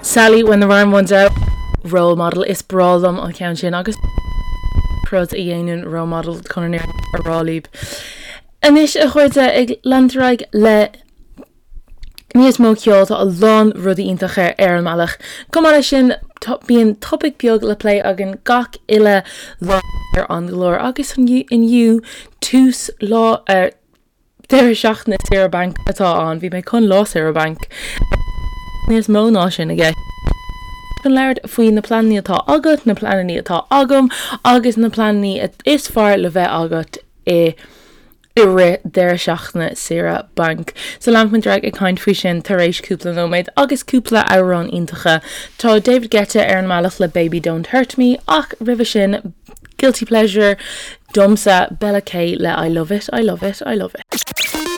Sally when the rhyme runs out. Role model, is breá liom an ceann sin agus rud a dhéanann role model chun an fhírinne a rá libh. Anois a chairde ag leanúint ar aghaidh le níos mó ceoil tá a lán rudaí iontacha ar an mbealach. Chomh maith leis sin bíonn topaic beag le plé againn gach uile lá ar an gclár agus inniu tús lá ar Deireadh seachtaine saoire bainc atá ann. Bhí mé chun lá saoire bainc. Níos mó ná sin i gceist. Chun labhairt faoi na pleananna atá agat, na pleananna atá agam agus na pleananna is fearr le bheith agat i i rith deireadh seachtaine saoire bainc. So leanfaidh muid ar aghaidh ag caint faoi sin tar éis cúpla nóiméad agus cúpla amhrán iontacha. Tá David Guetta ar an mbealach le Baby Don't Hurt Me ach roimhe sin Guilty Pleasure domsa, Bella K le I Love It, I Love It, I Love It.